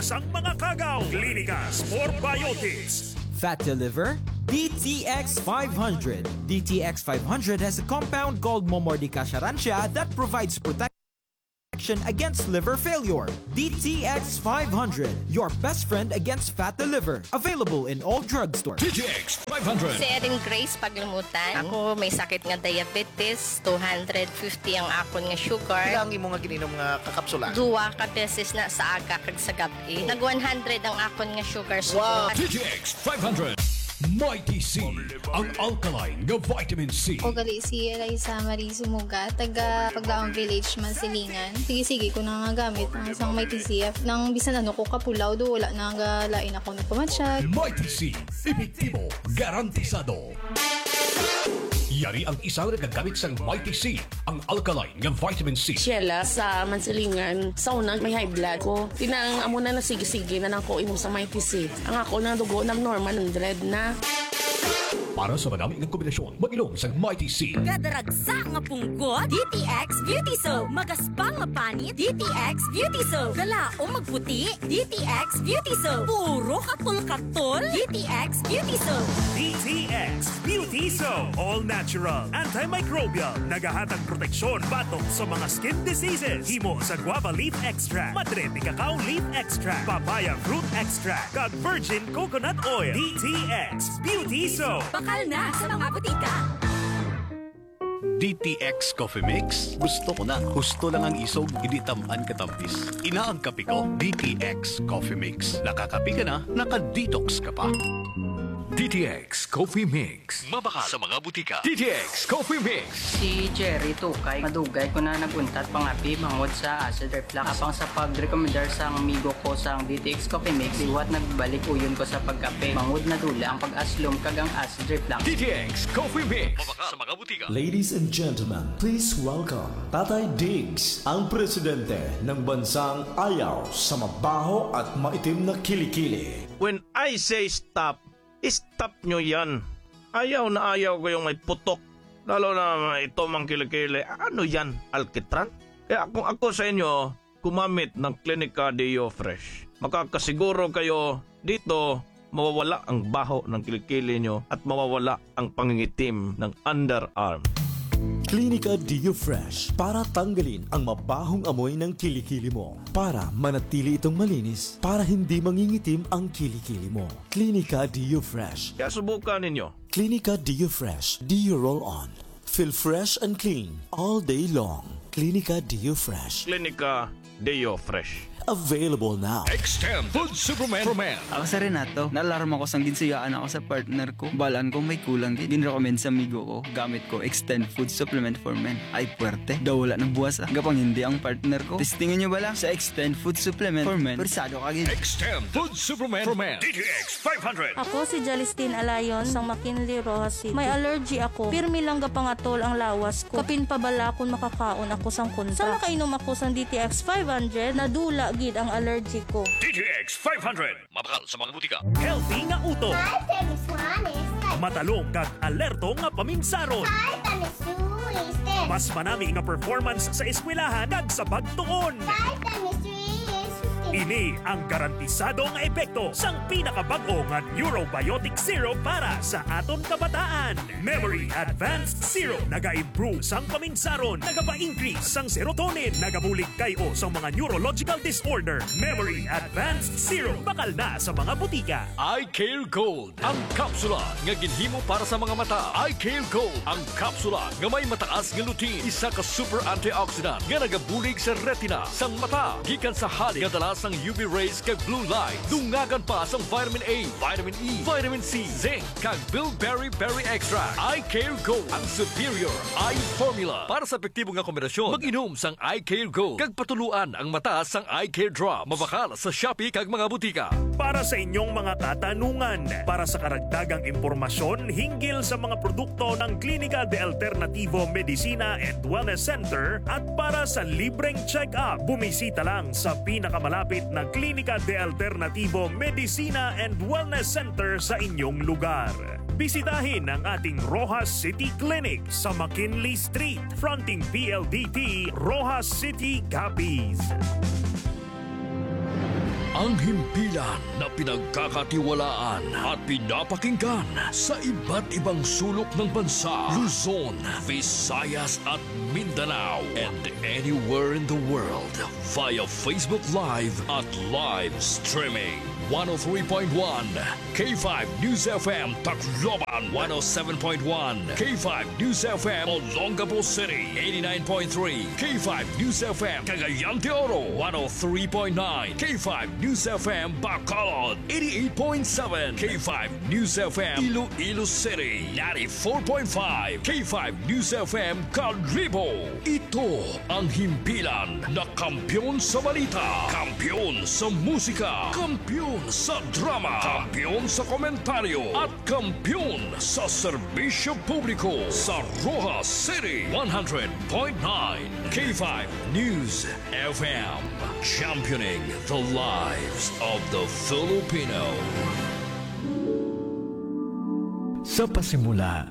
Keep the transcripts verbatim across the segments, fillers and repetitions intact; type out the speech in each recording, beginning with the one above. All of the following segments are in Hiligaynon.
sang mga kagaw. Klinika Spore Biotics. Fat to liver? D T X five hundred. D T X five hundred has a compound called Momordica charantia that provides protection against liver failure. D T X five hundred, your best friend against fat to liver. Available in all drugstores. D T X five hundred. Si Erin Grace Paglumutan. Ako may sakit nga diabetes, two hundred fifty ang akon nga sugar. Pila ang imo nga gininom nga kakapsula? Duwa ka beses na sa aga kag sa gab-i. Nag one hundred ang akon nga sugar. Wow! D T X five hundred. Mighty C, ang alkaline nga vitamin C. Ako gali si Eliza Marie Sumuga, taga Paglaong Village, Mansilingan. Sige-sige ko na nga gamit ang isang Mighty C. Nang bisan ano ko kapulaw, do wala na nga lain ako nagpamatsyag. Mighty C, epektibo, garantisado. Yari ang isa nga nagagamit sang Mighty C, ang alkaline nga vitamin C. Sheila sa Mansilingan, sa una may high blood ko. Tinang amo na, nasige-sige na lang ko inom sa Mighty C. Ang ako nang dugo nag-normal, hundred na. Para sa madami nga kombinasyon, mag-inom sang Mighty C. Kadaragsa nga punggot, D T X Beauty Soap. Magaspang nga panit, D T X Beauty Soap. Galaom magputi, D T X Beauty Soap. Puro katol-katol, D T X Beauty Soap. D T X Beauty Soap. All natural, antimicrobial. Nagahatag proteksyon batok sa mga skin diseases. Himo sa guava leaf extract, madre de cacao leaf extract, papaya fruit extract, kag virgin coconut oil. D T X Beauty Soap. Bakal na sa mga butika. D T X Coffee Mix? Gusto ko na. Husto lang ang isog, hindi tam-an katamis. Ina ang kape ko, D T X Coffee Mix. Nakakape ka na, naka-detox ka pa. D T X Coffee Mix. Mabakal sa mga butika. D T X Coffee Mix. Si Jerry Tukay, madugay ko na nag-untat pangape bangod sa acid reflux. Apang sa pagrekomendar sang amigo ko sang D T X Coffee Mix, liwat nagbalik uyon ko sa pagkape. Bangod nadula ang pag-aslom kag ang acid reflux. D T X Coffee Mix. Mabakal sa mga butika. Ladies and gentlemen, please welcome Tatay Diggs, ang presidente ng bansang ayaw sa mabaho at maitim na kilikili. When I say stop, stop nyo yan. Ayaw na ayaw ko yung may putok. Lalo na may itom ang kilikili. Ano yan? Alkitran? Kaya kung ako sa inyo, gumamit ng Clinica Deo Fresh. Makakasiguro kayo dito mawawala ang baho ng kilikili nyo at mawawala ang pangingitim ng underarm. Clinica Deo Fresh para tanggalin ang mabahong amoy ng kilikili mo. Para manatili itong malinis, para hindi mangingitim ang kilikili mo. Clinica Deo Fresh. Kaya subukan ninyo. Clinica Deo Fresh. Deo Roll On. Feel fresh and clean all day long. Clinica Deo Fresh. Clinica Deo Fresh. Available now. Extend Food Supplement for Men. Ako sa Renato, naalarma ko sang ginsuyaan ako sa partner ko. Balaan ko may kulang gid. Ginrecommend sa amigo ko, gamit ko Extend Food Supplement for Men. Ay, puwerte. Daw wala nagbuwas, ah. Gapang hindi ang partner ko. Testingan nyo bala sa Extend Food Supplement for Men. Persado ka gid. Extend Food Supplement for Men. D T X five hundred. Ako si Jalistin Alayon sang McKinley, Roxas City. May allergy ako. Pirmi lang gapangatol ang lawas ko. Kapin pa bala kon makakaon ako sang kontra. Sa nakainom ako sang D T X five hundred, nadula gid ang allergy ko. D T X five hundred. Mabakal sa mga butika. Healthy nga utok. Hi, Feliz Juanes. Matalong kag alerto nga paminsaron. Hi, Feliz Juanes. Mas manami nga performance sa eskwelahan kag sa pagtuon. Hi, Feliz Juanes. Ini ang garantisado nga epekto sang pinakabag-o nga Neurobiotic Syrup para sa aton kabataan. Memory Advanced Syrup nagaimprove sang paminsaron, nagapa-increase sang serotonin, nagabulig kay-o sang mga neurological disorder. Memory Advanced Syrup, bakal na sa mga butika. Eye Care Gold, ang kapsula nga ginhimo para sa mga mata. Eye Care Gold, ang kapsula nga may mataas nga lutein, isa ka super antioxidant nga nagabulig sa retina sang mata gikan sa halik nga dala sang U V rays kag blue light. Dungagan pa sang vitamin A, vitamin E, vitamin C, zinc, kag bilberry berry extract. Eye Care Gold, ang superior eye formula. Para sa epektibo nga kombinasyon, mag-inom sang Eye Care Gold kag patuluan ang mata sang Eye Care Drops. Mabakal sa Shopee kag mga butika. Para sa inyong mga katanungan, para sa karagdagang impormasyon hinggil sa mga produkto ng Klinika de Alternativo Medicina and Wellness Center at para sa libreng check-up, bumisita lang sa pinakamalapit na Klinika de Alternativo Medicina and Wellness Center sa inyong lugar. Bisitahin ang ating Roxas City Clinic sa McKinley Street, fronting P L D T, Roxas City, Capiz. Ang himpilan na pinagkakatiwalaan at pinapakinggan sa iba't ibang sulok ng bansa, Luzon, Visayas at Mindanao, and anywhere in the world via Facebook Live at live streaming. One oh three point one K five News F M Tacloban, one oh seven point one K five News F M Olongapo City, eighty-nine point three K five News F M Cagayan de Oro, one oh three point nine K five News F M Bacolod, eighty-eight point seven K five News F M Iloilo City, ninety-four point five K five News F M Kalibo. Ito ang himpilan na kampiyon sa balita, kampiyon sa musika, kampiyon sa drama, kampiyon sa komentaryo, at kampiyon sa serbisyo publiko sa Roxas City. One hundred point nine K five News F M, championing the lives of the Filipino. Sa pasimula,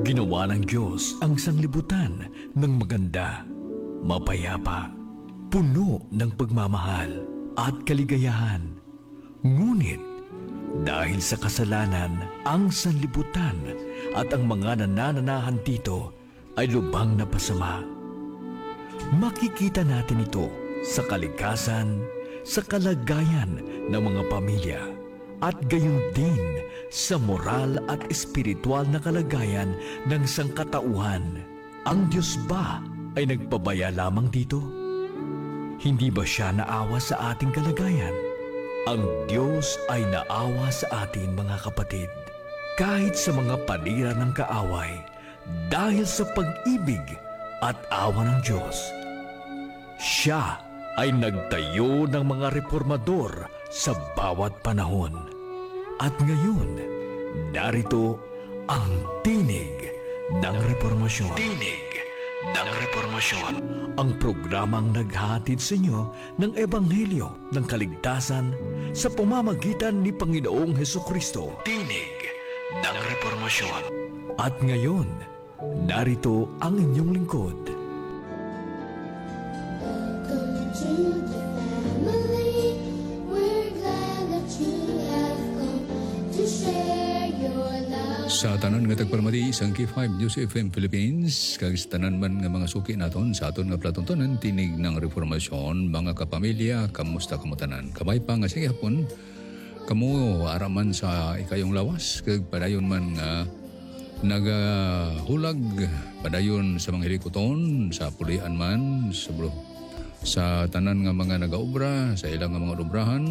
ginawa ng Diyos ang sanglibutan ng maganda, mapayapa, puno ng pagmamahal at kaligayahan. Ngunit, dahil sa kasalanan, ang sanlibutan at ang mga nanananahan dito ay lubhang napasama. Makikita natin ito sa kalikasan, sa kalagayan ng mga pamilya, at gayon din sa moral at espiritual na kalagayan ng sangkatauhan. Ang Diyos ba ay nagpabaya lamang dito? Hindi ba siya naawa sa ating kalagayan? Ang Diyos ay naawa sa atin, mga kapatid, kahit sa mga panira ng kaaway, dahil sa pag-ibig at awa ng Diyos. Siya ay nagtayo ng mga reformador sa bawat panahon. At ngayon, narito ang Tinig ng Reformasyon. Tinig ng Reformasyon. Ang programang naghahatid sa inyo ng ebanghelyo ng kaligtasan sa pamamagitan ni Panginoong Hesukristo. Tinig ng Reformasyon. At ngayon, narito ang inyong lingkod. Welcome to the family. We're glad that you have come to share your love. Sa tanan nga tagpalamati sang K five News F M Philippines, kag sa tanan man nga mga suki naton sa aton nga palatuntunan, Tinig ng Reformasyon, mga kapamilya, kamusta kamo tanan? Kabay pa nga sa gihapon, kamo ara man sa ikayong lawas, kag padayon man nga nagahulag padayon sa mga hilikuton, sa pulian man, sa bro-, sa tanan nga mga nagaobra, sa ilang nga mga obrahan,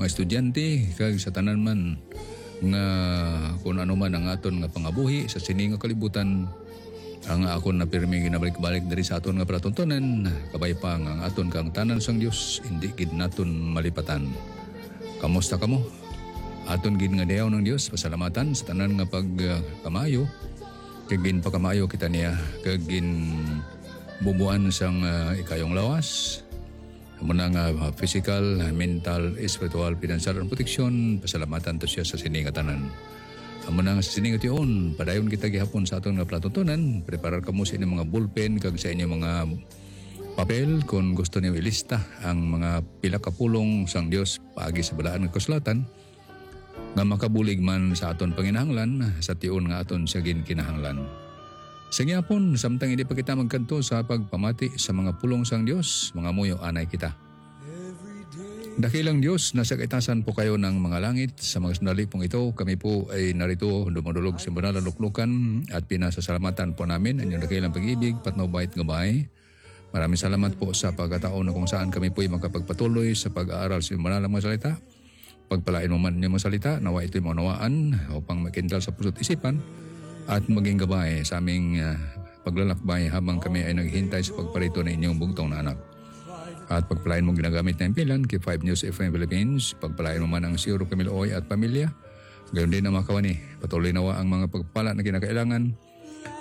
mga estudyante, kag sa tanan man nga kun ano man ang aton nga pangabuhi sa sini nga kalibutan, ang akon na pirmi ginabalik-balik diri sa aton nga palatuntunan, kabay pa nga ang aton kang tanan sang Dios indi gid naton malipatan. Kamusta kamo? Aton gid nga dayawon ang Dios, pasalamatan sa tanan nga pagkamaayo, kag ginpakamaayo kita niya, kag ginbubuan sang, ah, ikayong lawas. Amo na nga, ah, physical, mental, espiritual, financial, and proteksyon, pasalamatan to siya sa sini nga tanan. Amo na nga sa sini nga tion, padayon kita gihapon sa aton nga palatuntunan, preparar kamo sa inyong mga ballpen kag sa inyong mga papel kon gusto niyo ilista ang mga pila ka pulong sang Dios paagi sa Balaan nga Kasulatan nga makabulig man sa aton panginahanglan sa tion nga aton siya ginkinahanglan. Sa gihapon, samtang hindi pa kita magkadto sa pagpamati sa mga pulong sang Dios, mangamuyo anay kita. Dakilang Dios, nasa kaitasan po kayo ng mga langit. Sa mga sandali pong ito, kami po ay narito dumudulog sa banal na luklukan at pinasasalamatan po namin ang inyong dakilang pag-ibig, patnubay at gabay. Maraming salamat po sa pagkataon na kung saan kami po'y makapagpatuloy sa pag-aaral sa inyong banal na mga salita. Pagpalain mo man ang inyong mga salita, nawa ito'y maunawaan upang makindal sa puso't isipan at maging gabay sa aming, ah, paglalakbay habang kami ay naghihintay sa pagparito ng inyong bugtong na anak. At pagpalain mo ginagamit na impilan kay five News F M Philippines, pagpalain mo man ang Sir Camilo Oy at pamilya. Gayon din ang mga kawani, patuloy nawa ang mga pagpala na kinakailangan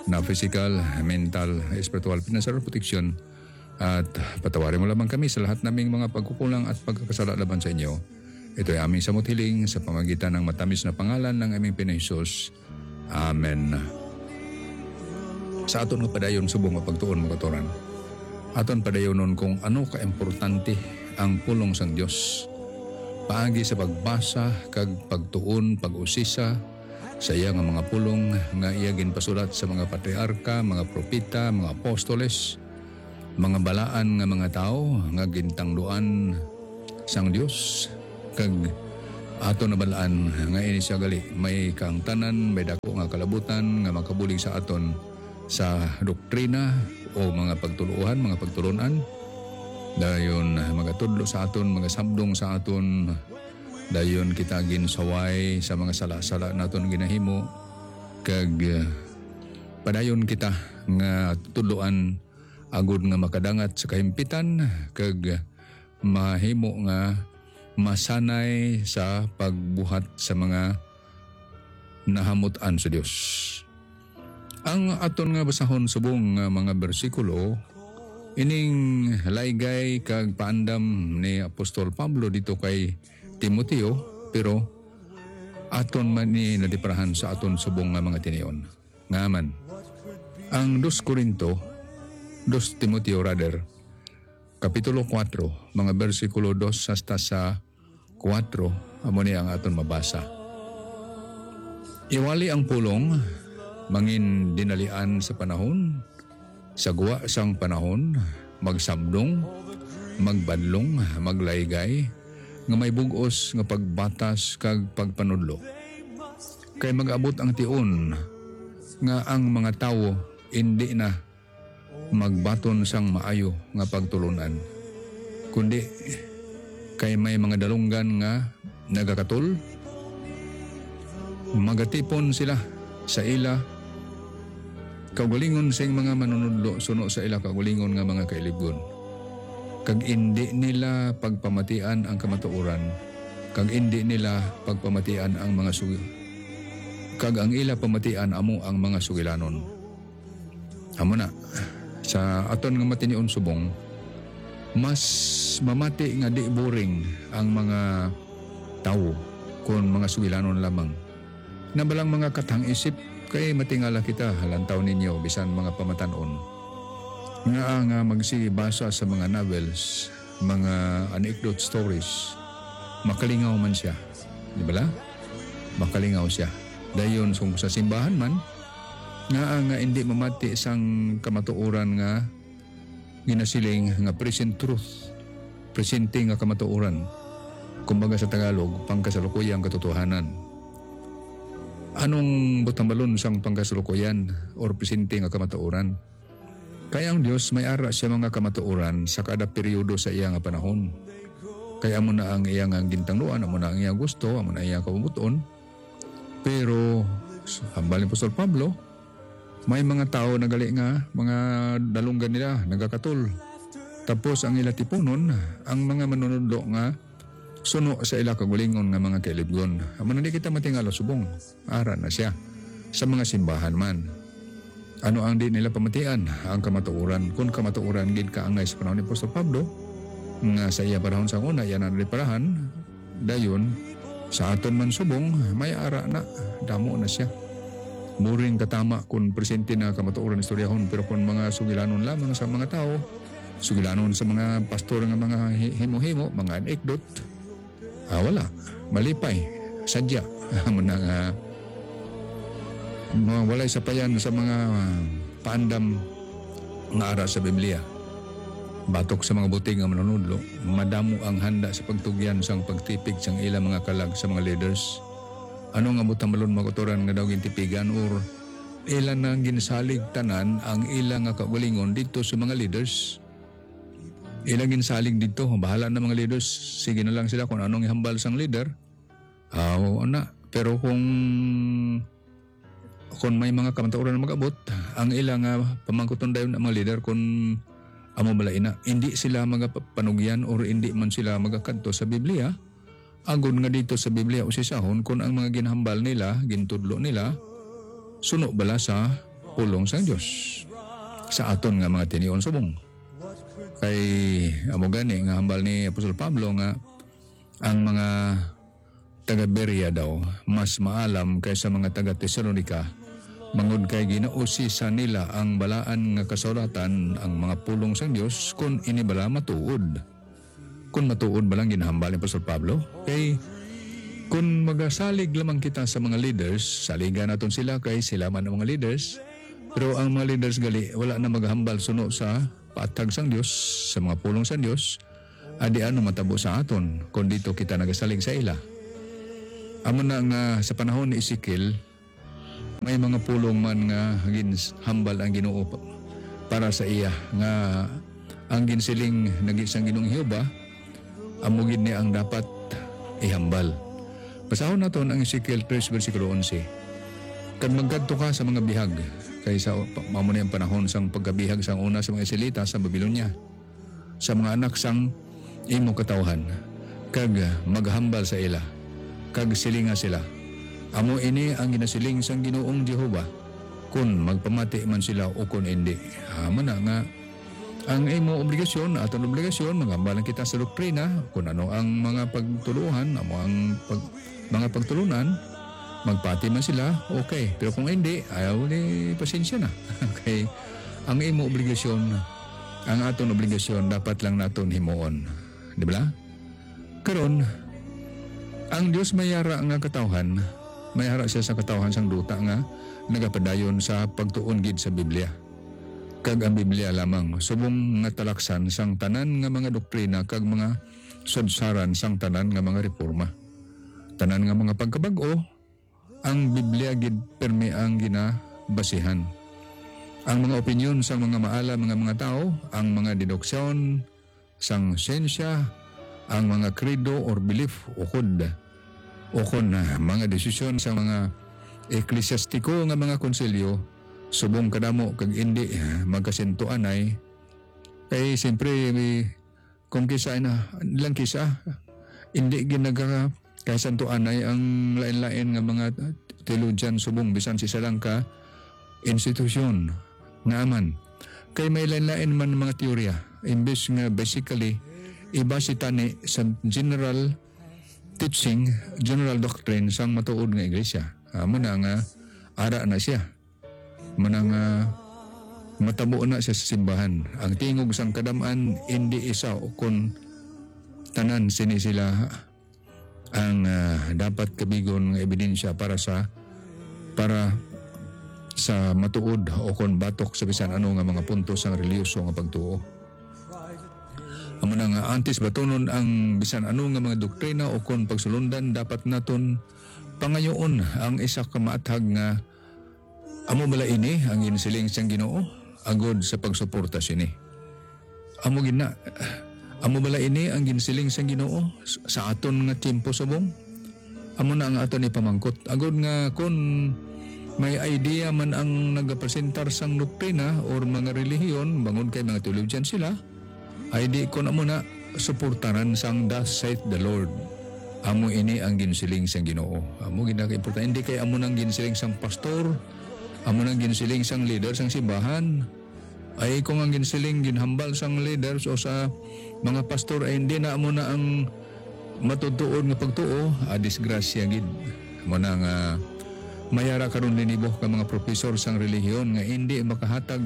na physical, mental, espiritual, financial protection. At patawarin mo lamang kami sa lahat naming mga pagkukulang at pagkakasala laban sa inyo. Ito'y aming samot hiling sa pamagitan ng matamis na pangalan ng aming Pinoy Jesus. Amen. Sa aton nga padayon subong nga pagtuon, mga kautoran, aton padayonon kung ano kaimportante ang pulong sang Dios paagi sa pagbasa kag pagtuon, pag-usisa sa iya nga mga pulong nga iya ginpasulat sa mga patriarka, mga propeta, mga apostoles, mga balaan nga mga tawo nga gintangduan sang Dios, kag aton nabal-an nga ini sia gali may kaangtanan, may dako nga kalabutan nga makabulig sa aton sa doktrina o mga pagtuluohan, mga pagtulon-an. Dayon, magatudlo sa aton, magasabdong sa aton. Dayon kita ginsaway sa mga sala-sala naton ginahimo, kag, eh, padayon kita nga tudloan agud nga makadangat sa kahimpitan, kag mahimo nga masanay sa pagbuhat sa mga nahamut-an sa Dios. Ang aton nga basahon subong nga mga bersikulo, ining laygay kag paandam ni Apostol Pablo dito kay Timoteo, pero aton man ni nadiparahan sa aton subong nga mga tinion. Nga man, ang dos Corinto, dos Timoteo rather, Kapitulo kuwatro, mga bersikulo dos hasta sa kuwatro, amo ni ang aton mabasa. Iwali ang pulong, mangin dinalian sa panahon, sa gwa sang panahon, magsabdong, magbadlong, maglaygay, nga may bug-os nga pagbatas kag pagpanudlo. Kay mag-abot ang tion nga ang mga tawo indi na magbaton sang maayo nga pagtulon-an, kundi kay may mga dalunggan nga nagakatol. Magatipon sila sa ila kaugalingon sing mga manunudlo suno sa ila kaugalingon nga mga kailibgon, kag indi nila pagpamatian ang kamatuoran, kag indi nila pagpamatian ang mga sugi, kag ang ila pamatian amo ang mga sugilanon. Amo na, sa aton nga matinion subong, mas mamati nga di boring ang mga tawo kon mga sugilanon lamang. Nabalang mga katang-isip, kay matingala kita, lantaw ninyo, bisan mga pamatan-on. Ngaa nga magsigi basa sa mga novels, mga anecdote stories, makalingaw man siya, di bala? Makalingaw siya. Dayon, kung sa simbahan man, ngaa nga indi mamati sang kamatuoran nga ginasiling nga present truth, presente nga kamatuoran. Kumbaga sa Tagalog, pangkasalukuyang katotohanan. Anong butambalon sang pangkasalukuyan or presente nga kamatuoran? Kay ang Dios may ara siya mga kamatuoran sa kada periodo sa iya nga panahon. Kay amo na ang iya nga gintangluan, amo na ang iya gusto, amo na ang iya kabubut-on. Pero, hambal ni Apostol Pablo, may mga tawo na gali nga mga dalunggan nila nagakatol. Tapos ang ila tipunon, ang mga manunudlo nga suno sa ila kaugalingon nga mga kailibgon. Amo na, di kita matingala subong. Ara na siya sa mga simbahan man. Ano ang di nila pamatian? Ang kamatuoran. Kun kamatuoran gid kaangay sa panahon ni Apostol Pablo, nga sa iya panahon sa una, iya na nadiparahan, dayon, sa aton man subong, may ara na, damo na siya. Boring katama kun presente na kamatuoran istoryahon, pero kun mga sugilanon lamang sa mga tawo, sugilanon sa mga pastor nga mga hi-, himo-himo, mga anekdot, ah, wala. Malipay. Sadya. Amo na nga, mga walay sapayan sa mga paandam nga ara sa Biblia. Batok sa mga butig nga manunudlo, madamo ang handa sa pagtugyan sang pagtipig sang ila mga kalag sa mga leaders. Ano nga butambalon, mga kautoran, nga daw gintipigan or ila na ginsalig tanan ang ila nga kaugalingon didto sa mga leaders? Ila ginsalig didto, bahala na mga leaders, sige na lang sila kung anong ihambal sang leader. Aw, ana. Pero kung, kung may mga kamatuoran na mag-abot, ang ila nga pamangkuton dayon ang mga leader kung amo bala ina, indi sila magapanugyan or indi man sila magakadto sa Biblia, agod nga dito sa Biblia usisahon kung ang mga ginhambal nila, gintudlo nila, suno bala sa pulong sang Dios sa aton nga mga tinion subong. Kay amo gani nga hambal ni Apostol Pablo nga ang mga taga Berea daw mas maalam kaysa mga taga Tesalonica, bangod kay ginausisa nila ang balaan nga kasulatan, ang mga pulong sang Dios, kon ini bala matuod. Kung matuod ba lang ginahambal ni Apostol Pablo? Kay kung magasalig lamang kita sa mga leaders, saligan naton sila kay sila man ang mga leaders. Pero ang mga leaders gali, wala na maghambal suno sa paathag sang Dios, sa mga pulong sang Dios, adi ano matabo sa aton kung dito kita nagasalig sa ila? Amo na nga sa panahon ni Ezekiel, may mga pulong man nga ginhambal ang Ginoo pa-, para sa iya, nga ang ginsiling nagi sang Ginoong Jehovah, amo gid ni ang dapat ihambal. Basahon naton ang Ezekiel three, bersikulo onse. "Kag magkadto ka sa mga bihag," kay sa pa-, amo ni ang panahon sang pagkabihag sang una sa mga Israelita sa Babilonia, "sa mga anak sang imo katawhan, kag maghambal sa ila, kag silinga sila, 'Amo ini ang ginasiling sang Ginoong Jehovah, kon magpamati man sila ukon indi.'" Amo na nga, ang imo obligasyon, aton obligasyon, maghambal lang kita sa doktrina, kung ano ang mga pagtuluhan, amo ang pag-, mga pagtulunan, magpati man sila, okay. Pero kung hindi, ayaw ni pasensya na. Okay? Ang imo obligasyon, ang aton obligasyon, dapat lang naton himuon. Di ba? Karon, ang Dios may ara nga katawhan, may ara siya sa katawhan sang duta nga nagapadayon sa pagtuon gid sa Biblia, kag ang Biblia lamang, subong nga talaksan sang tanan nga mga doktrina kag mga sadsaran sang tanan nga mga reporma. Tanan nga mga pagkabag-o, ang Biblia gid permi ang ginabasihan. Ang mga opinyon sang mga maalam nga mga tawo, ang mga deduksyon sang siyensya, ang mga credo or belief, ukod, ukon na mga desisyon sa mga eklesyastiko nga mga konsilyo, subong kadamo kag indi, ah, magkasintuanay. Kay siyempre, may, kung kisa na, lang kisa, indi gid nagkakasantuanay ang lain-lain nga mga theologian subong bisan sa isa lang ka institusyon. Nga man, kay may lain-lain man mga teorya, imbes nga basically, ibase tani sa general teaching, general doctrine sang matuod nga iglesia. Amo na nga, ara na siya. Amo na nga, matabo na siya sa simbahan. Ang tingog sang kadam-an, indi isa o kon tanan sini sila ang, ah, dapat kabigon nga ebidensya para sa, para sa matuod o kon batok sa bisan ano nga mga punto sang relihiyoso nga pagtuo. Amo na nga, antes batunon ang bisan ano nga mga doktrina o kon pagsulundan, dapat naton pangayoon ang isa ka maathag nga, "Amo bala ini ang ginsiling sang Ginoo agod sa pagsuporta sini?" Amo gid na. Amo bala ini ang ginsiling sang Ginoo s-, sa aton nga tiyempo subong? Amo na ang aton ipamangkot. Agod nga kon may idea man ang nagapresentar sang doktrina or mga relihiyon, bangod kay mga teologian sila, ay di kon amo na suportaran sang "Thus saith the Lord." Amo ini ang ginsiling sang Ginoo. Amo gid na ka importante. Hindi kay amo nang ginsiling sang pastor, amo nang ginsiling sang leader sang simbahan. Ay kung ang ginsiling, ginhambal sang leaders o sa mga pastor ay hindi na amo na ang matutuod nga pagtuo, ah, disgrasya gid. Amo na nga may ara karon linibo ka mga profesor sang relihiyon nga hindi makahatag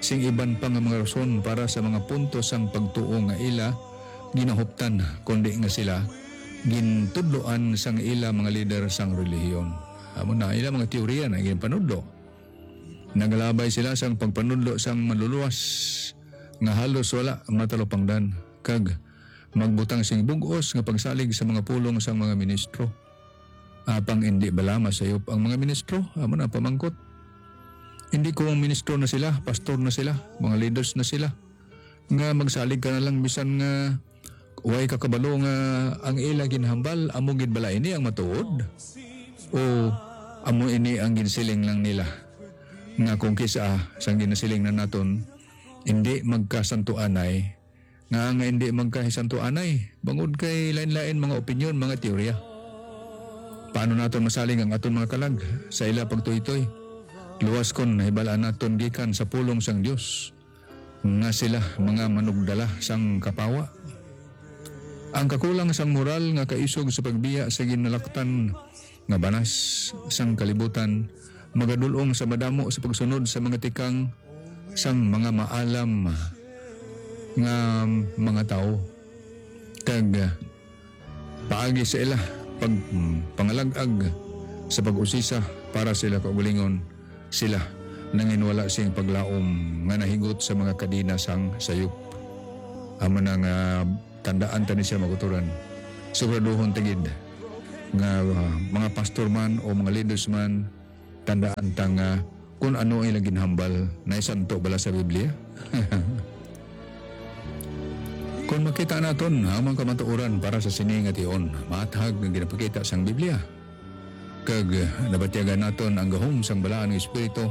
sing iban pa nga mga rason para sa mga punto sang pagtuo nga ila ginahuptan, kundi nga sila gintudloan sang ila mga lider sang relihiyon. Amo na ila mga teorya na ginpanudlo. Nagalabay sila sang pagpanudlo sang manluluwas nga halos wala matalupangdan, kag magbutang sing bug-os nga pagsalig sa mga pulong sang mga ministro. Apang indi bala masayop ang mga ministro? Amo na pamangkot. Indi ko ang ministro na sila, pastor na sila, mga leaders na sila, nga magsalig ka na lang bisan nga way ka kabalo nga ang ila ginhambal, amo gid bala ini ang matuod? O amo ini ang ginsiling lang nila, nga kung kisa sang ginasiling na naton, indi magkasantuanay, nga, nga indi magkahisantuanay, bangod kay lain-lain mga opinyon, mga teorya? Paano naton masalig ang aton mga kalag sa ila pagtuytoy? Luwas kon nahibal-an naton gikan sa pulong sang Dios nga sila mga manugdala sang kapawa. Ang kakulang sang moral nga kaisog sa pagbiya sa ginalaktan nga banas sang kalibutan magadul-ong sa madamo sa pagsunod sa mga tikang sang mga maalam nga mga tawo. kag, ah, paagi sa ila pag, mm, pangalag-ag sa pag-usisa para sa ila kaugalingon, sila nanginwala sing paglaom nga nahigot sa mga kadena sang sayop. Amo na nga tandaan ta ni siya, mga kauturan. Siguraduhon ta gid nga, ah, mga pastor man o mga leaders man, tandaan ta nga kung ano ang ilang ginhambal, naisanto bala sa Biblia? Kung makita naton ang mga kamatuoran para sa sini nga tion, maathag nga ginapakita sang Biblia, kag nabatyagan naton ang gahom sang Balaan nga Espiritu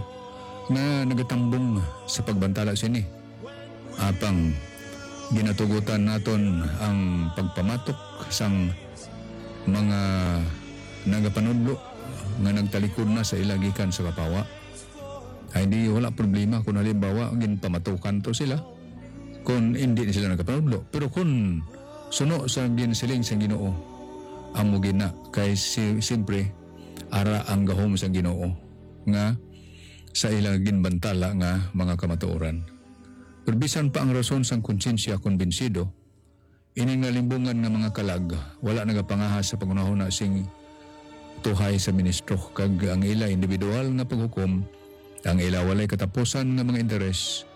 nga nagatambong sa pagbantala sini. Apang ginatugutan naton ang pagpamatok sang mga nagapanudlo nga nagtalikod na sa ila gikan sa kapawa. Ay di, wala problema kung halimbawa ginpamatukan to sila, kung hindi na sila nagapanudlo. Pero kung suno sa ginsiling sang Ginoo, amo gina kay si, siyempre, ara ang gahom sang Ginoo nga sa ila ginbantala nga mga kamatuoran. Pero bisan pa ang rason sang konsyensya kumbinsido, ini nga limbungan nga mga kalag wala nagapangahas sa panghunahuna sing tuhay sa ministro, kag ang ila individual nga paghukom, ang ila walay katapusan nga mga interes,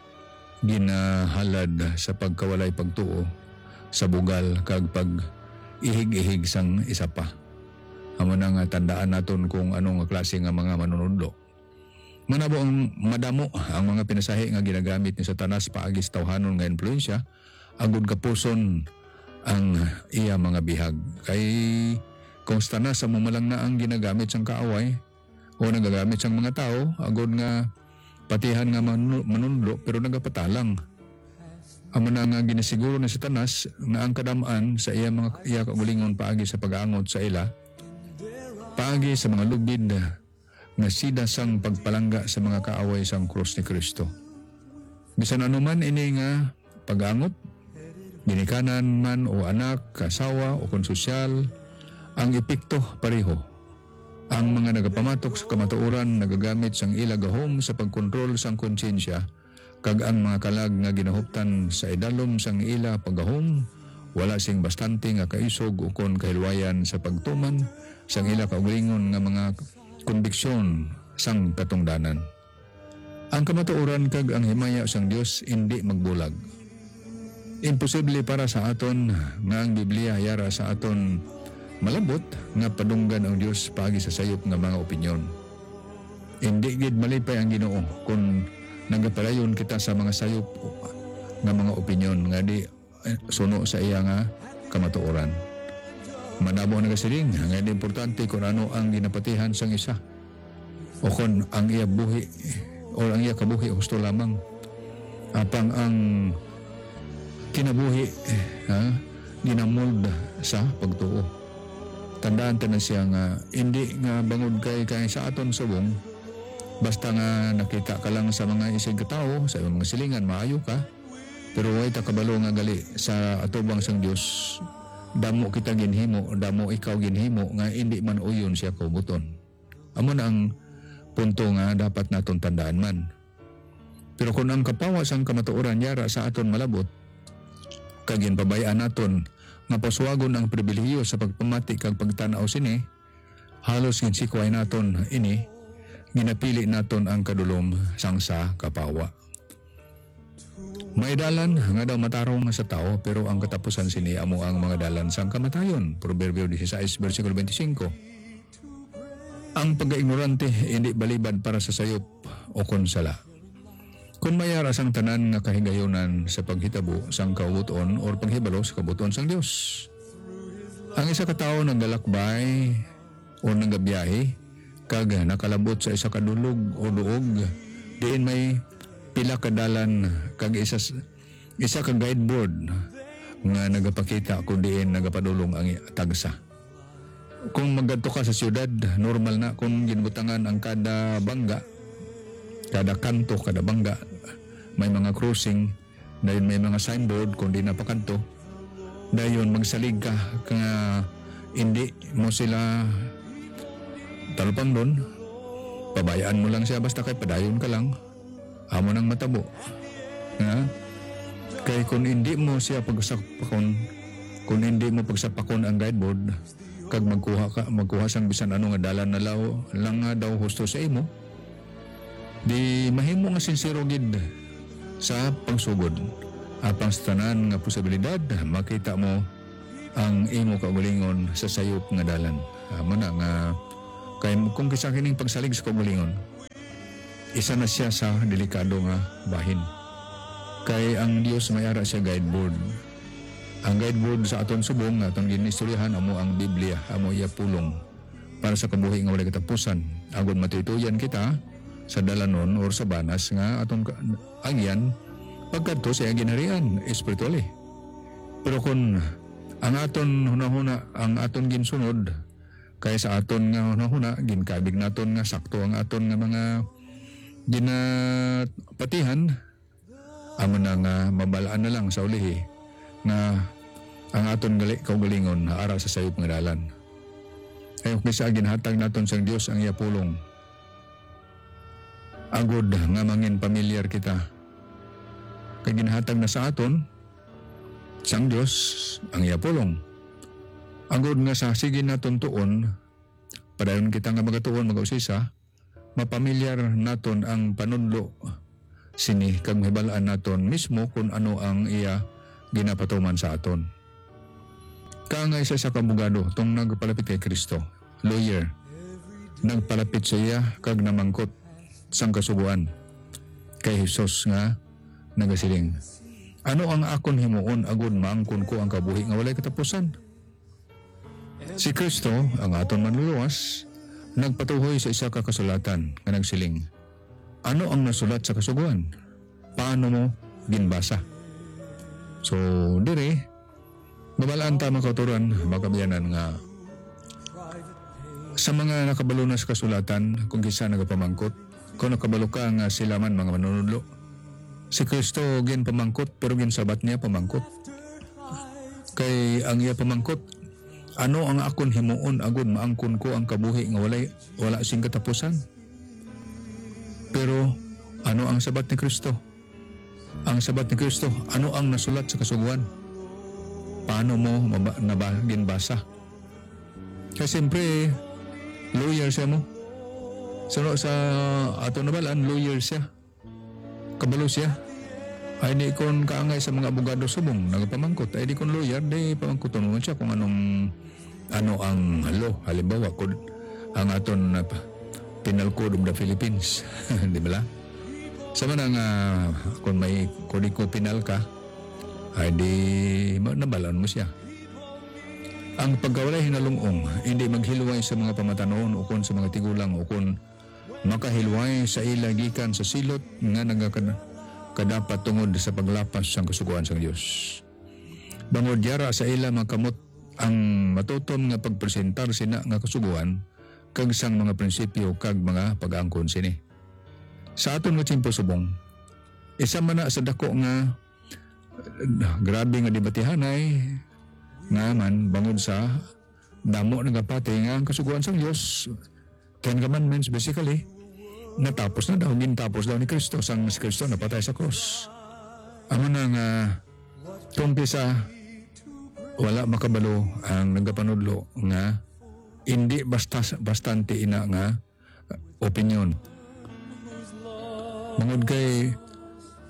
ginahalad sa pagkawalay pagtuo sa bugal kag pag-ihig-ihig sang isa pa. Amo na nga tandaan naton kung ano nga klase nga mga manunudlo. Manabo ang madamo ang mga pinasahi nga ginagamit ni Satanas paagi sa tawhanon nga impluwensya, agud kapuson ang iya mga bihag. Kay kung Satanas amo man lang na ang ginagamit sang kaaway o nagagamit sang mga tawo, agud nga patihan nga manu-, manunlo, pero nagapatalang. Amo na nga ginasiguro ni Satanas nga ang kadam-an sa iya mga, iya kaugalingon paagi sa pag-angot sa ila, paagi sa mga lubid nga sida sang pagpalangga sa mga kaaway sang krus ni Kristo. Bisan ano man ini nga pag-angot, ginikanan man o anak, asawa, o kon sosyal, ang epekto pareho. Ang mga nagapamatok sa kamatuoran nagagamit sang ila gahom sa pagkontrol sang konsyensya, kag ang mga kalag nga ginahuptan sa idalom sang ila paggahom wala sing bastante nga kaisog ukon kahilwayan sa pagtuman sang ila kaugalingon nga mga konbiksyon sang katungdanan. Ang kamatuoran kag ang himaya sang Dios indi magbulag. Imposible para sa aton nga ang Biblia yara sa aton malabot nga padunggan ang Dios paagi sa sayop nga mga opinyon. Indi gid malipay ang Ginoo kon nagapadayon kita sa mga sayop nga mga opinyon nga di, eh, suno sa iya nga kamatuoran. Madamo nagasiling nga hindi importante kon ano ang ginapatihan sang isa, o kon ang iya buhi, o ang iya kabuhi husto lamang. Apang ang kinabuhi, ha, ginamold sa pagtuo. Tandaan ta na siya nga hindi nga bangod kay, kay sa aton subong, basta nga nakita ka lang sa mga isig ka tawo, sa imong mga silingan, maayo ka, pero way ta kabalo nga gali sa atubang sang Dios, damo kita ginhimo, damo ikaw ginhimo nga hindi man uyon siya kahubuton. Amo na ang punto nga dapat naton tandaan man. Pero kon ang kapawa sang kamatuoran yara sa aton malabot, kag ginpabay-an naton nga pasuwagon ang pribilehiyo sa pagpamati kag pagtan-aw sini, halos ginsikway naton ini, ginapili naton ang kadulom sang sa kapawa. May dalan nga daw matarong sa tawo, pero ang katapusan sini amo ang mga dalan sang kamatayon. Proverbio dieciséis, bersikulo twenty-cinco. Ang pagkaignorante indi balibad para sa sayop o kon sala. Kon may ara sang tanan nga kahigayunan sa paghitabo sang kabuton or paghibalo sa kabuton sang Dios. Ang isa ka tawo naglalakbay o nagabiyahe kag nakalabot sa isa ka dulog o duog diin may pila ka dalan kag isa s-, isa ka guideboard nga nagapakita kung diin nagapadulong ang i-, tagsa. Kung maggadto ka sa siyudad, normal na kung ginbutangan ang kada bangga, kada kanto, kada bangga, may mga crossing, dayon may mga signboard kung di na pakadto. Dayon magsalig ka nga hindi mo sila talupangnon, pabayaan mo lang siya basta kay padayon ka lang. Amo nang matabo. Nga, kay kung hindi mo siya pagsakpakon, Kung hindi mo pagsapakon ang guideboard, kag magkuha ka, magkuha sang bisan ano nga dalan na law, lang nga daw husto sa imo, di mahimo nga sinsero gid sa pagsugod. Apang sa tanan nga posibilidad, makita mo ang imo kaugalingon sa sayop nga dalan. Amo na nga, kay kung kisa kining pagsalig sa kaugalingon, isa na sia sa delikado nga bahin. Kay ang Dios may ara siya guideboard. Ang guideboard sa aton subong nga aton ginistoryahan amo ang Biblia, amo iya pulong para sa kabuhi nga walay katapusan. Agod matuytoyan kita sa dalanon or sa banas nga aton ka-, agyan pagkadto sa iyang ginharian espiritually. Pero kung ang aton hunahuna, ang aton ginsunod, kay sa aton nga hunahuna, ginkabig naton nga sakto ang aton nga mga ginapatihan, amo na nga mabalaan na lang sa ulihi nga ang aton gali-, kaugalingon ara sa sayop nga dalan. Kay kung kisa ginhatag naton sang Dios ang iya pulong, agod nga mangin pamilyar kita, kay ginhatag na sa aton sang Dios ang iya pulong, agod nga sa sige naton tuon, padayon kita nga magatuon, mag-usisa, mapamilyar naton ang panudlo sini kag mahibal-an naton mismo kon ano ang iya ginapatuman sa aton. Kaangay sa isa ka abogado tong nagpalapit kay Cristo, lawyer, nagpalapit sa iya kag namangkot sang Kasugoan kay Jesus nga nagasiling, "Ano ang akon himuon agod maangkon ko ang kabuhi nga walay katapusan?" Si Cristo, ang aton Manluluwas, nagpatuhoy sa isa ka kasulatan nga nagsiling, "Ano ang nasulat sa Kasugoan? Paano mo ginbasa?" So, diri, mabal-an ta, mga kautoran, mga kaabyanan, nga sa mga nakabalo na sa kasulatan, kung kisa nagapamangkot, kung nakabalo ka nga sila man mga manunudlo, si Cristo ginpamangkot, pero ginsabat niya pamangkot. Kay ang iya pamangkot, "Ano ang akon himuon agod maangkon ko ang kabuhi nga walay, wala sing katapusan?" Pero ano ang sabat ni Cristo? Ang sabat ni Cristo, "Ano ang nasulat sa Kasugoan? Paano mo maba-, naba-, ginbasa?" Kay siyempre, lawyer siya mo. Sa, sa ato nabalaan, lawyer siya. Kabalo siya. Ay di kon kaangay sa mga abogado subong, nagapamangkot. Ay di kon lawyer, di pamangkuton mo siya kung anong, ano ang law. Halimbawa, kung ang aton, uh, Penal Code of the Philippines. Di ba la? Sa man nga, kung may Kodigo Penal ka, ay di ma-, nabalaan mo siya. Ang pagkawalay hinalungong, hindi maghilway sa mga pamatanon ukon sa mga tigulang ukon makahilway sa ila gikan sa silot nga nagakad-, kadapat tungod sa paglapas sang Kasugoan sang Dios. Bangod yara sa ila makamot ang matutom nga pagpresentar sina nga Kasugoan kag sang mga prinsipyo kag mga pag-angkon sini. Sa aton nga tiyempo subong, isa man na sa dako nga grabe nga debatihanay nga man bangod sa damo nagapati nga ang Kasugoan sang Dios, Ten Commandments, basically, natapos na daw, gintapos daw ni Cristo sang si Cristo napatay sa krus. Amo na nga, kung kisa wala makabalo ang nagapanudlo nga hindi basta, bastante ina nga opinyon. Bangod kay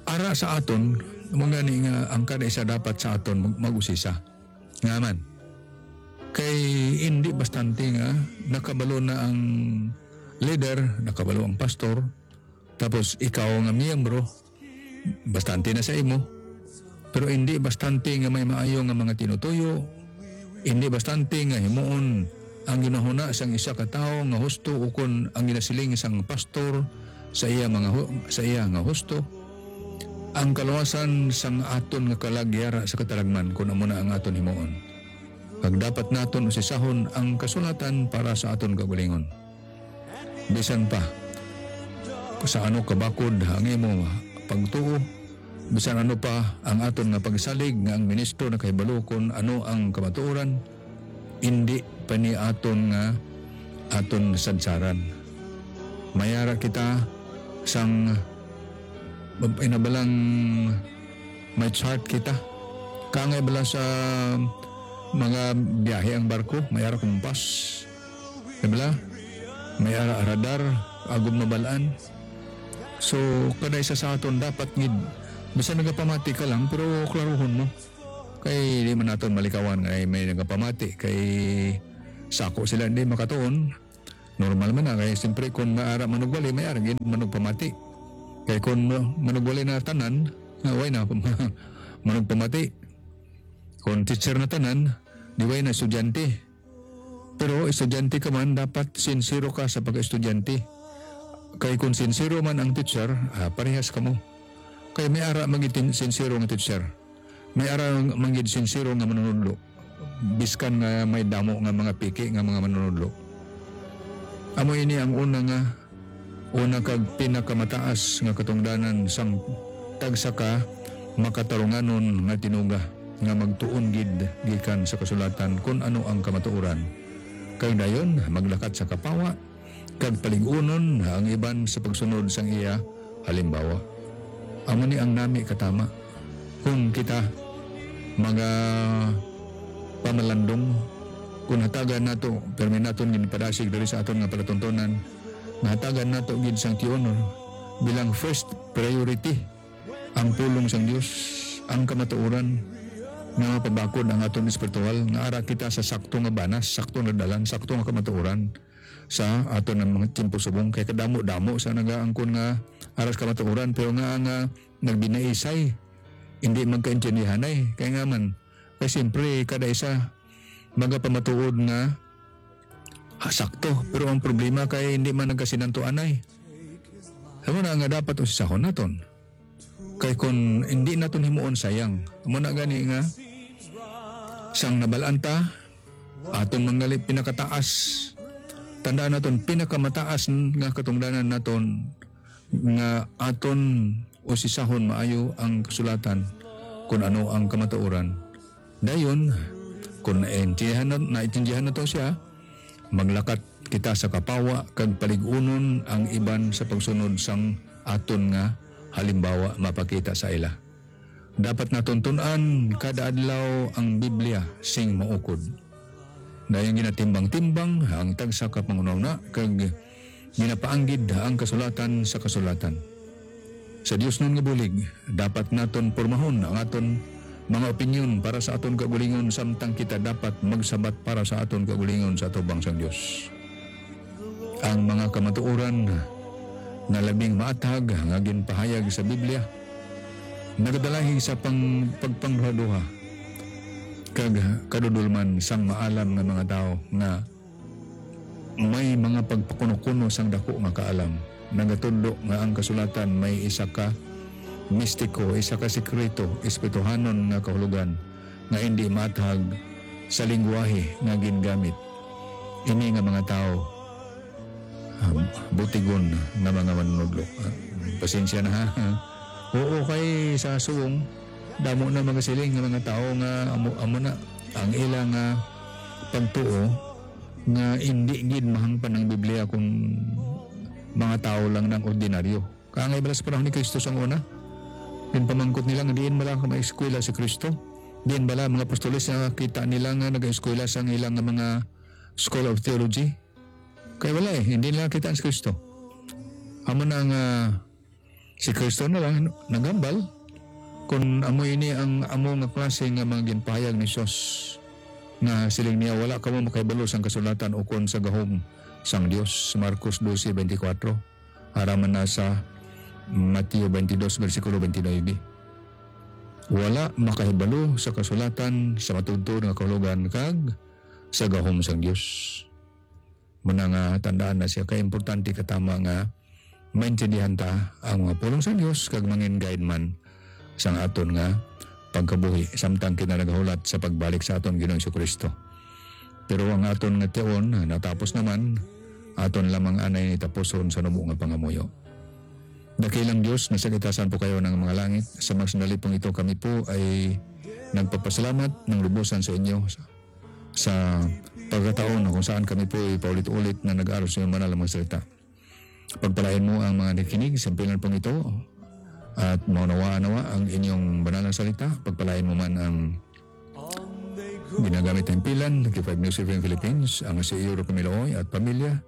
ara sa aton, mo gani nga ang kada isa dapat sa aton mag-, mag-usisa. Nga man, kay indi bastante nga nakabalo na ang leader, nakabalo ang pastor, tapos ikaw nga miyembro, bastante na sa imo. Pero indi bastante nga may maayo nga mga tinutuyo, indi bastante nga himuon ang ginahuna sang isa ka tawo nga husto ukon ang ginasiling sang pastor sa iya mga hu-, sa iya nga husto. Ang kaluwasan sang aton nga kalag yara sa kataragman kun amo na ang aton himuon. Kag dapat naton usisahon ang kasulatan para sa aton kaugalingon. Bisan pa sa ano kabakod ang imo pagtuo, bisan ano pa ang aton nga pagsalig nga ang ministro nakahibalo kon ano ang kamatuoran, indi pa ni aton nga aton sadsaran. Mayara kita sang inabalang may chart kita. Kangay bala sa mga biyahe ang barko, may ara kumpas. Di ba? May ara radar, agom mabalaan. So, kada isa sa aton dapat gid, bisan nagapamati ka lang, pero klaruhon mo. Kay di man naton malikawan nga may nagapamati, kay sako sila di makatuon. Normal man na, kay siyempre kung may ara manugwali, may ara gid manugpamati. Kay kung ma-, manugwali na tanan, ah, way na manugpamati. Kung teacher na tanan, di way na estudyante. Pero estudyante ka man, dapat sinsero ka sa pagka-estudyante. Kay kung sinsero man ang teacher, ah, parehas kamo. Kay may ara man gid tin-, sinsero nga teacher. May ara man gid sinsero nga manunudlo. Biskan nga may damo nga mga piki nga mga manunudlo. Amo ini ang una nga, una kag pinakamataas nga katungdanan sang tagsa ka makatarunganon nga tinuga nga magtuon gid gikan sa kasulatan kun ano ang kamatuoran. Kag dayon, maglakat sa kapawa, kag palig-unon ang iban sa pagsunod sang iya halimbawa. Amo ni ang nami katama. Kung kita mga pamalandong, kung hatagan nato, permi naton ginpadasig diri sa aton nga palatuntunan, nga hatagan nato gid sang tion bilang first priority ang pulong sang Dios, ang kamatuoran, nga mapabakod ang aton espiritual, nga ara kita sa sakto nga banas, sakto nga dalan, sakto nga kamatuoran sa aton nga mga tiyempo subong. Kay kadamo-damo sa nagaangkon nga ara sa kamatuoran, pero nga, nga nagbinaisay, hindi magkaintindihanay. Kay nga man, kay siyempre, kada isa magapamatuod nga, ah, sakto. Pero ang problema kay hindi man nagkasinantuanay. Amo na nga dapat usisahon naton. Kay kung hindi naton himuon, sayang. Amo na gani nga, sang nabalaan ta, aton manggali pinakataas. Tandaan naton, pinakamataas nga katungdanan naton nga aton usisahon maayo ang kasulatan, kun ano ang kamatuoran. Dayon, kun naintindihan na, naintindihan nato siya, maglakat kita sa kapawa kag palig-unon ang iban sa pagsunod sang aton nga halimbawa mapakita sa ila. Dapat naton tun-an kada adlaw ang Biblia sing maukod. Dayon ginatimbang-timbang ang tagsa ka panghunahuna kag ginapaanggid ang kasulatan sa kasulatan. Sa diosnon nga bulig, dapat naton pormahon ang aton mga opinyon para sa aton kaugalingon, samtang kita dapat magsabat para sa aton kaugalingon sa atubang sang Dios. Ang mga kamatuoran nga labing maathag nga ginpahayag sa Biblia nagadalahi sa pang-, pagpangduhaduha kag kadudolman sang maalam nga mga tawo nga may mga pagpakuno-kuno sang daku nga kaalam. Nagatudlo nga ang kasulatan may isa ka mistiko, isa ka sikreto, espirituhanon nga kahulogan nga indi maathag sa lingwahe nga gingamit. Ini nga mga tawo, um, butigon nga mga manunodlo. Ah, pasensya na, ha? Oo, kay sa subong, damo na magasiling nga mga tawo nga amo, amo na ang ila nga pagtuo nga indi gid mahangpan ang Biblia kung mga tawo lang nang ordinaryo. Kaangay bala sa panahon ni Kristo sang una, ginpamangkot nila nga diin bala ka may eskwela si Kristo? Diin bala mga apostoles nga kita nila nga nag-eskwela sang ilang nga mga School of Theology? Kay wala eh, hindi nila kita si Kristo. Amo na nga si Kristo na lang naghambal kung amo ini ang amo nga klase nga mga ginpahayag ni Jesus nga siling niya, "Wala kamo makahibalo sang kasulatan ukon sa gahom sang Dios." Marcos doce veinticuatro, ara man na sa Mateo twenty-two, bersikulo twenty-nine. Wala makahibalo sa kasulatan sa matuod-tuod nga kahulogan kag sa gahom sang Dios. Muna nga tandaan na siya, kay importante katama nga maintindihan ta ang mga pulong sa Dios kag mangin guide man sang aton nga pagkabuhi samtang kita nagahulat sa pagbalik sa aton Ginoong Jesu-Cristo. Pero ang aton nga tion natapos naman, aton lamang anay ni tapuson sa nubo nga pangamuyo. Dakilang Dios, nasa itasan po kayo ng mga langit. Sa mga sandali pong ito, kami po ay nagpapasalamat ng lubusan sa inyo sa, sa pagkataon na kung saan kami po ay paulit-ulit na nag-aaral sa inyong banal na mga salita. Pagpalain mo ang mga nakikinig sa pingan pong ito at maunawaan nawa ang inyong banal na salita. Pagpalain mo man ang Ginagamit ang himpilan, K five News F M Philippines, ang C E O Roque Miloy at pamilya.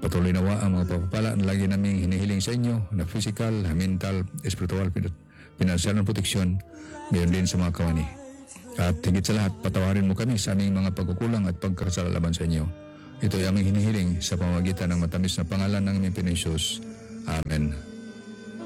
Patuloy nawa ang mga pagpapala na lagi naming hinihiling sa inyo na physical, mental, espiritual, pin-, pinansyal na proteksyon, gayon din sa mga kawani. At higit sa lahat, patawarin mo kami sa aming mga pagkukulang at pagkasala laban sa inyo. Ito ay aming hinihiling sa pamamagitan ng matamis na pangalan ng aming Pinoy Jesus. Amen.